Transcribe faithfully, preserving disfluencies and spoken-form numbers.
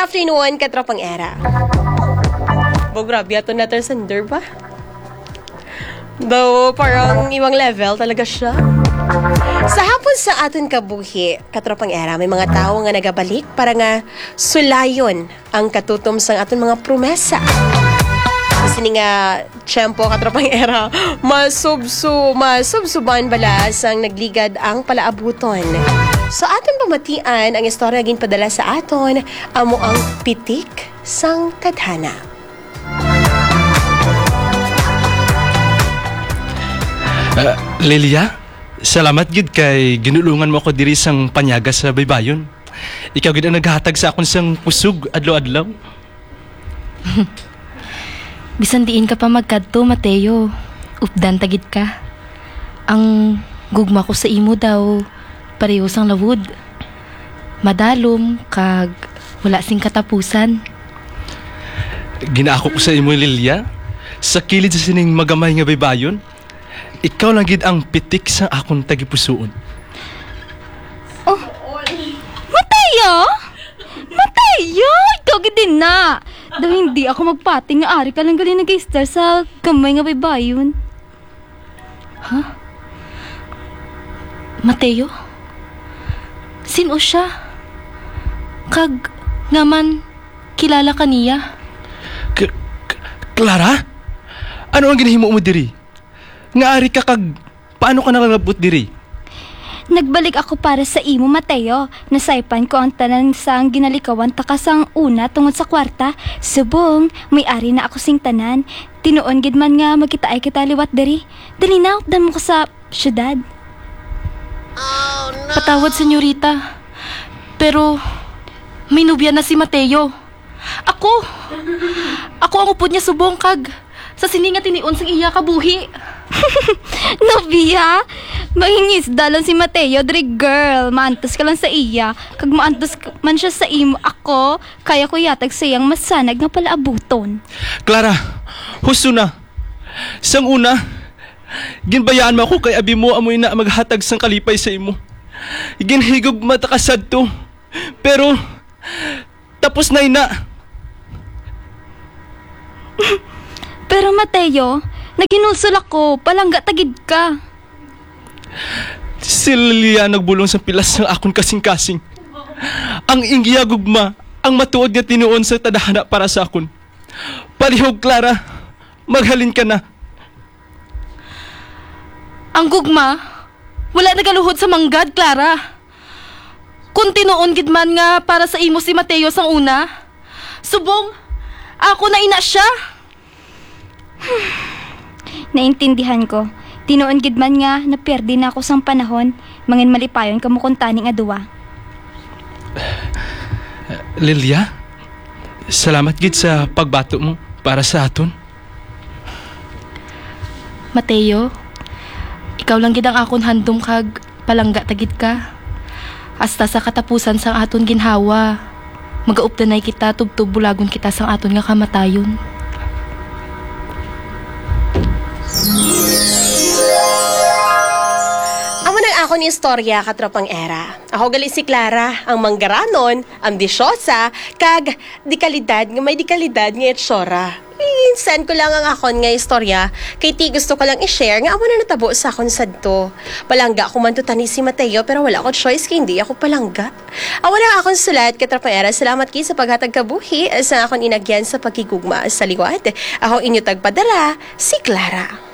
Afternoon, katropang Era. Bo, grabe ato na sender ba? Daw, parang ibang level talaga siya. Sa hapon sa aton kabuhi, katropang Era, may mga tawo nga nagabalik para nga sulayon ang katutom sang aton mga promesa. Sa sini nga tiyempo, katropang Era, masubso-, masubsuban bala sang nagligad ang palaabuton. So, aton pamatian ang istorya ginpadala sa aton, amo ang Pitik sang Tadhana. Ah, Lilia, salamat gid kay ginulungan mo ako diri sang panyaga sa baybayon. Ikaw gid ang naghatag sa akon sang kusog adlaw-adlaw. Bisan diin ka pa magkadto, Mateo, updan ta gid ka. Ang gugma ko sa imo daw pareho sang lawod. Madalom kag wala sing katapusan. Ginaako ko sa imo, Lilia, sa kilid sa sining magamay nga baybayon, ikaw lang gid ang pitik sa akon tagipusoon. Oh, Mateo! Mateo! Ikaw gid din na! Daw hindi ako magpati nga ari ka lang gali nag-istar sa gamay nga baybayon. Ha? Mateo? Sin-o siya? Kag nga man kilala ka niya? K-, K-, Clara? Ano ang ginahimo mo diri? Nga ari ka kag paano ka nakalabot diri? Nagbalik ako para sa imo, Mateo. Nasaypan ko ang tanan sang ginalikawan ta ka sang una tungod sa kwarta. Subong, may ari na ako sing tanan. Tinuon gid man nga magkitaay kita liwat diri. Dali na, updan mo ko sa syudad. Patawad, senyorita. Pero may nobya na si Mateo. Ako! Ako ang upod niya subong kag sa sini nga tinion sang iya kabuhi. Nobya? Mangingisda lang si Mateo diri, girl. Maantos ka lang sa iya. Kag maantos ka man siya sa imo. Ako, kaya ko yatag sa iyang masanag nga palaabuton. Clara, husto na. Sang una, ginbayaan mo ako kay abi mo amo ina maghatag sang kalipay sa imo. Ginhigugma ta ka sadto. Pero tapos na ina. Pero Mateo, naghinulsol ako, palangga ta gid ka. Si Lilia nagbulong sang pilas sang akon kasing-kasing. Ang iya gugma, ang matuod nga tinuon sa tadhana para sa akon. Palihog, Clara, maghalin ka na. Ang gugma, wala nagaluhod sa manggad, Clara. Kung tinuon gid man nga para sa imo si Mateo sang una, subong, ako na ina siya. Naintindihan ko. Tinuon gid man nga napiyerde na ako sang panahon, manginmalipayon kamo kuntani nga duwa. Lilia, salamat gid sa pagbato mo para sa aton. Mateo, ikaw lang gid ang akon handom kag palangga ta gid ka. Hasta sa katapusan sang aton ginhawa, magaupdanay kita tubtob bulagon kita sang aton nga kamatayon. Amo nang akon istorya, katropang Era. Ako gali si Clara, ang manggaranon, ambisyosa, kag dekalidad nga may dekalidad nga itsura. I-send ko lang ang akon nga istorya, kay ti gusto ko lang i-share nga amo na natabo sa akon sadto. Palangga ko man to tani si Mateo, pero wala ko choice kay hindi ako palangga. Amo na ang akon sulat, katropang Era. Salamat kay sa paghatag kabuhi sa akon inagyan sa paghigugma sa liwat. Ako inyo tagpadara, si Clara.